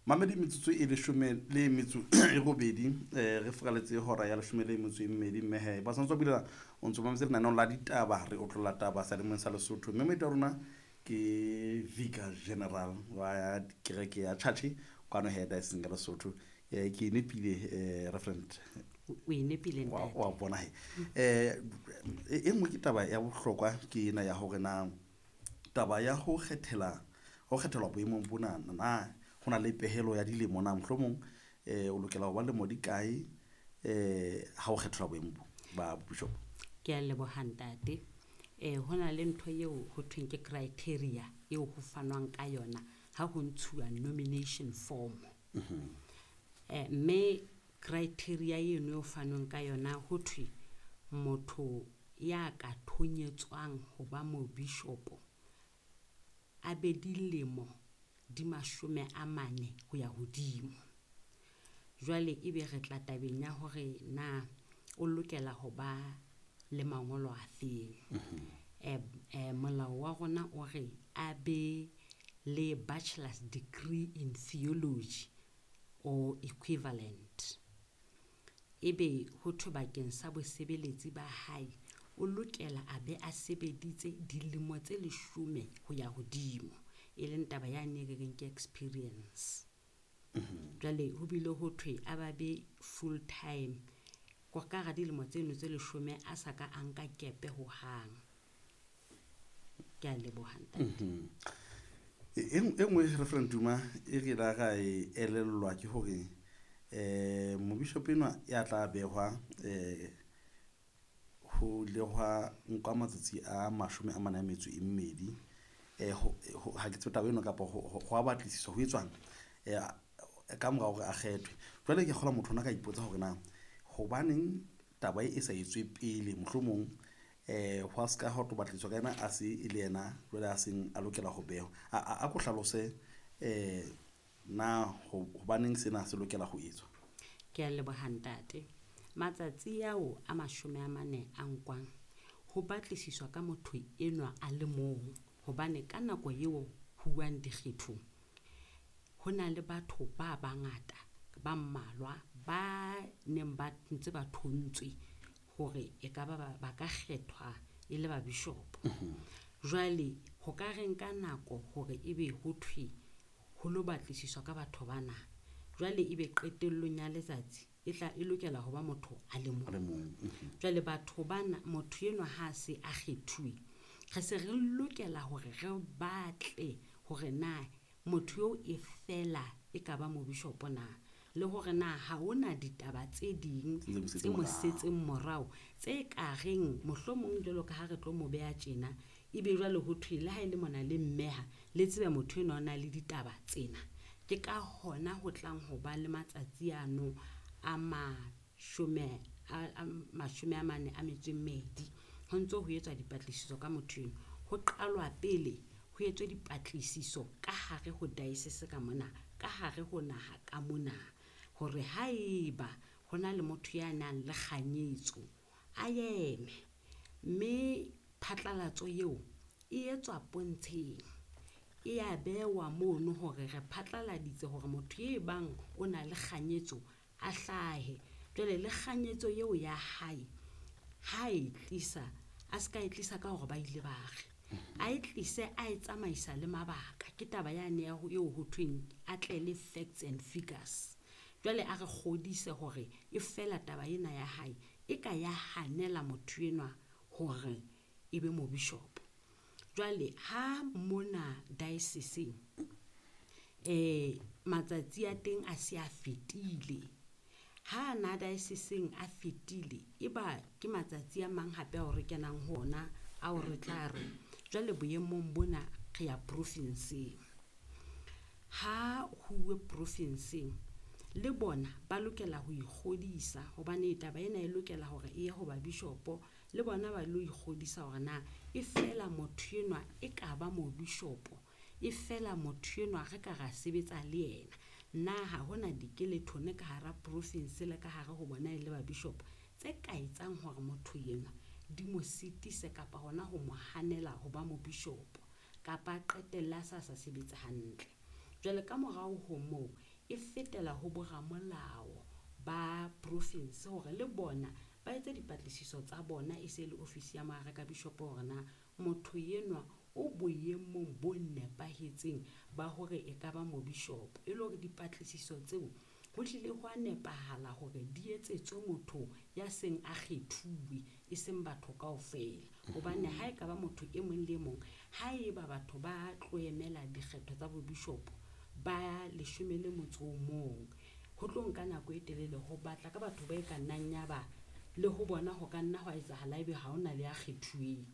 Mamedi metsotso e leshome le metso e robedi re furaletse hora ya leshome le metso e mmedi mme he ba santse bulela o ntso mametse lenaneong la ditaba re otlolla taba sealemoyeng sa Lesotho mme moeti wa rona ke Vicar General wa kereke ya Chache kwano he diocese ya Lesotho. Ke e nepile Reverend? O e nepile ntate. Wa bona he. E nngwe ke taba ya bohlokwa ke ena ya hore na taba ya ho kgethela ho kgethelwa boemong bona na ho na le pehelo ya dilemo na mohlomong o lokela ho ba lemo di kae ha o kgethelwa boemo bo ba bishop? Ke a leboha ntate. Ho na le ntho eo ho thweng ke criteria eo ho fanwang ka yona ha ho ntshuwa nomination form. Mme criteria eno eo fanweng ka yona ho thwe motho ya ka thonyetswang ho ba mobishopo a be dilemo di 40 ho ya hodimo. Jwale ebe re tla tabeng ya hore na o lokela ho ba le mangolo a feng. Molao wa rona o re a be le bachelor's degree in theology or equivalent. Ebe ho thwe bakeng sa bosebeletsi ba hae o lokela a be a sebeditse dilemo tse 10 ho ya hodimo, e leng taba yane e re reng ke experience. Jwale ho bile ho thwe a ba be full time ko ka hara dilemo tseno tse 10 a sa ka a nka kepe hohang. Ke a leboha ntate. E nngwe Reverend Duma e re la ra e elellwa ke hore mobishopo enwa ya tla behwa ho ile hwa nkwa matsatsi a 42 ha ke tsebe taba eno kapa ho a batlisiswa ho etswang ka mora hore a kgethwe. Jwale ke kgolwa motho ona ka ipotsa hore na hobaneng taba e sa etswe pele mohlomong hwa ska ha tlo batlisiswa ka yena a se e le yena jwale a seng a lokela ho behwa. A ko hlalose na hobaneng sena se lokela ho etswa? Ke a leboha ntate. Matsatsi ao a 40 a nkwang ho batlisiswa ka motho enwa a le mong, hobane ka nako eo ho buang dikgethong ho na le batho ba bangata ba mmalwa ba neng ba ntse ba thontswe hore e ka ba ba ka kgethwa e le ba bishop. Jwale ho ka re nka nako hore ebe ho thwe ho lo batlisiswa ka batho bana. Jwale ebe qetellong ya letsatsi e tla e lokela ho ba motho a le mong. A le mong. Jwale batho bana motho enwa ha se a kgethuwe re se re lokela hore re batle hore na motho eo e fela e ka ba mobishopo na, le hore na ha hona ditaba tse ding Tse tse mo mo setseng setseng morao tse ka reng mohlomong jwalo ka ha re tlo mo beha tjena ebe jwale ho thwe le ha e le mona le mmeha le tsebe motho enwa o na le ditaba tsena. Ke ka hona ho tlang ho ba le matsatsi ano a 42 ho ntso ho etswa dipatlisiso ka motho enwa. Ho qalwa pele ho etswe dipatlisiso ka hare ho diocese ka mona, ka hare ho naha ka mona, hore haeba ho na le motho ya nang le kganyetso a eme. Mme phatlalatso eo e etswa pontsheng, e a bewa mono hore re phatlaladitse hore motho e bang o na le kganyetso a hlahe. Jwale le kganyetso eo ya hae ha e tlisa a ska e tlisa ka hore ba ile ba re a e tlise a e tsamaisa le mabaka. Ke taba yane ya ho eo ho thweng a tle le facts and figures. Jwale a re kgodise hore e fela taba ena ya hae e ka ya hanela motho enwa hore e be mobishopo. Jwale ha mona diocese matsatsi a teng a se a fetile. Ha na diocese a fetile e ba ke matsatsi a mang hape ao re kenang ho ona ao re tla re jwale boemong bona re ya profinseng. Ha huwe profinseng le bona ba lokela ho ikgodisa hobane taba ena e lokela hore e ye ho ba bishopo, le bona ba lo ikgodisa hore na e fela motho enwa e ka ba mobishopo, e fela motho enwa re ka ra sebetsa le yena. Na ha hona dikelethone ka hara province le ka hare ho bona e le ba bishop tse ka etsang hore motho enwa di mo sitise kapa hona ho mo hanela ho ba mobishopo kapa a qetelle a sa sebetse hantle. Jwale ka morao ho moo e fetela ho boramolao ba profinse hore le bona ba etse dipatlisiso tsa bona, e se le ofisi ya moarekabishopo hore na motho enwa o boemong bo nepahetseng ba hore e ka ba mobishopo. E le hore dipatlisiso tseo ho hlile ho a nepahala hore di etsetswe motho ya seng a kgethuwe, e seng batho kaofela. Hobane ha e ka ba motho e mong le mong, ha e ba batho ba tlo emela dikgetho tsa bobishopo ba 11, ho tlo nka nako e telele ho batla ka batho ba e ka nnang ya ba le ho bona ho ka nna hwa etsahala ebe ha hona le ya kgethuweng.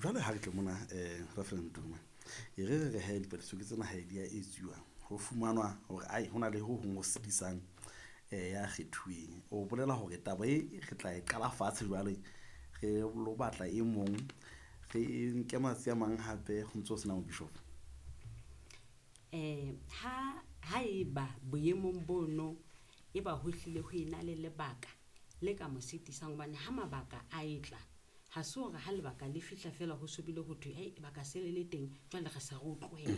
Jwale ha re tle mona, Reverend Duma, e re re re he dipatlisiso ke tsena ha di a etsuwa, ho fumanwa hore ai hona le ho hong ho sitisang ya kgethuweng. O bolela hore taba e re tla e qala fatshe jwale, re lo batla e mong, re nke matsatsi a mang hape ho ntso ho sena mobishopo. Ha eba boemong bono e ba ho hlile ho ena le lebaka le ka mo sitisang, hobane ha mabaka a etla, ha se hore ha lebaka le fihla fela ho sobile ho thwe, hei, lebaka se le le teng, jwale re se re o tlohela.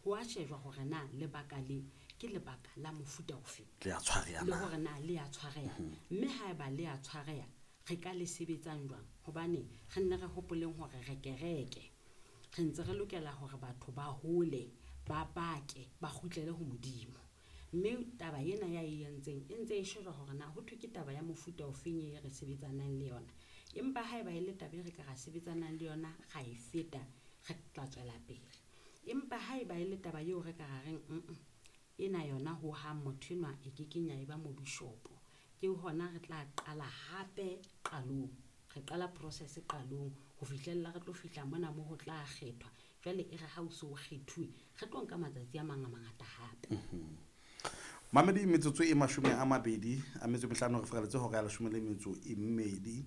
Ho a shejwa hore na lebaka le ke lebaka la mofuta ofe. Le a tshwareha Le na? hore na le a tshwareha. Mme ha eba le a tshwareha, re ka le sebetsang jwang? Hobane re nne re hopoleng hore re kereke. Re ntse re lokela hore batho ba hole, ba bake, ba kgutlele ho Modimo. Mme taba ena ya e entseng e ntse e shejwa hore na ho thwe ke taba ya mofuta ofeng e re sebetsanang le yona. Empa ha eba e le taba e re ka ra sebetsanang le yona, ra e feta, re tla tswela pele. Empa ha eba e le taba eo re ka ra reng, ena yona ho hang motho enwa e ke keng ya eba mobishopo, ke hona re tla qala hape qalong. Re qala process qalong ho fihlella re tlo fihla mona moo ho tla kgethwa. Jwale e re ha o so kgethuwe, re tlo nka matsatsi a mang a mangata hape. Mamedi, metsotso e 25 re feraletse hora ya 12.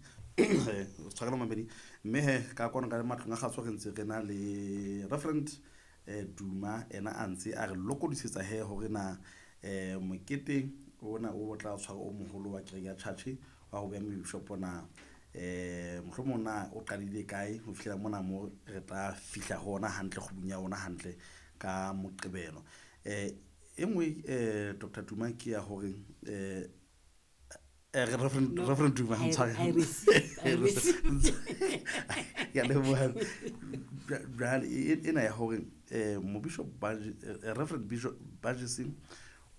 Tshwarelo mamedi. Mme he, ka kwano ka matlong a kgaso re ntse re na le Reverend Duma, ena a ntse a re lokodisetsa he hore na mokete ona o tla tshwara o moholo wa kereke ya church wa ho beha mobishopo na, mohlomong na o qadile kae ho fihlela mona mo re tla fihla ho ona hantle kgubung ya ona hantle ka Moqebelo. E nngwe, Doctor Duma, ke ya hore Reverend, No, Reverend Duma, I I'm sorry. I receive, I receive. Ke a leboha. Jwale ena ya hore mobishop Reverend Bishop Bajesing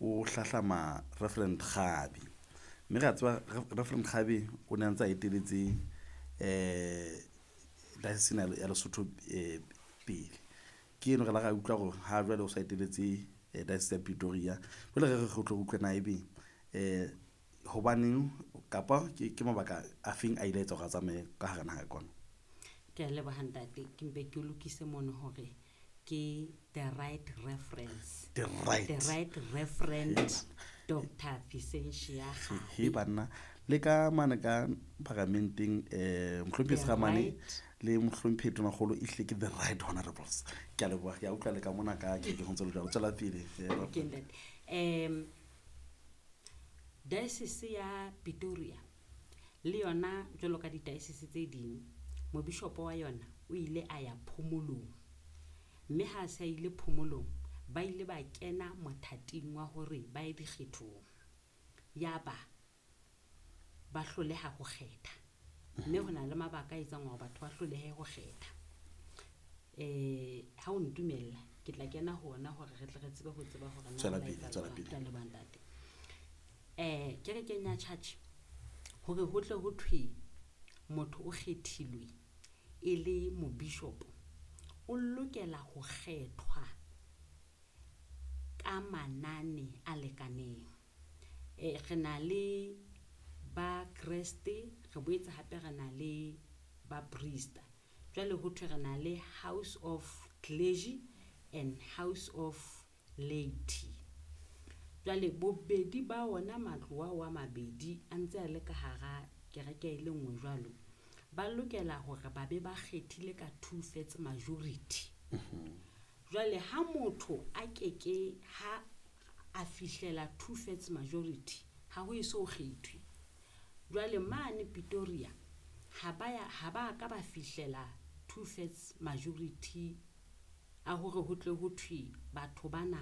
o hlahlama Reverend Kgabi. Mme re a tseba Reverend Kgabi o ne a ntse a eteletse diocese ena ya Lesotho pele. Ke eno re la ra utlwa hore ha jwale o sa eteletse diocese ya Pretoria. Jwale re re re tlo utlwa na ebe hobaneng kapa ke mabaka a feng a ile a etsa hore a tsamaye ka hara naha kwana? Ke a leboha ntate, ke mpe ke o lokise mono hore ke the right reference. The right. The right referent, Doctor Vicentia Kgabi. He banna, le ka mane ka paramenteng, mohlomphehi The Sekgamane right. le mohlomphehi Tonakgolo e hlile ke the right honorables. Ke a leboha, ke a utlwa le ka mona ka ke ke ho ntse le jwalo. Tswela pele, Ke ntate. Diocese ya Pretoria le yona jwalo ka di-diocese tse ding, mobishopo wa yona o ile a ya phomolong. Mme ha a se a ile phomolong, ba ile ba kena mothating wa hore ba ye dikgethong. Ya ba ba hloleha ho kgetha. Mme ho na le mabaka a etsang hore batho ba hlolehe ho kgetha. Ha o ntumella, ke tla kena ho ona hore re tle re tsebe ho tseba hore na Tswela ho la pele, etsahala tswela jwang. pele. Ke a leboha ntate. Kerekeng ya church, hore ho tle ho thwe motho o kgethilwe e le mobishopo, o lokela ho kgethwa ka manane a lekaneng. Re na le ba Kreste, re boetse hape re na le ba priest. Jwale ho thwe re na le House of Clergy and House of Laity. Jwale bobedi ba ona matlo ao a mabedi a ntse a le ka hara kereke e le nngwe jwalo, ba lokela hore ba be ba kgethile ka 2/3 majority. Jwale ha motho a keke ha a fihlela 2/3 majority, ha ho eso kgethwe. Jwale mane Pretoria ha ba ya, ha ba ka ba fihlela 2/3 majority a hore ho tle ho thwe batho bana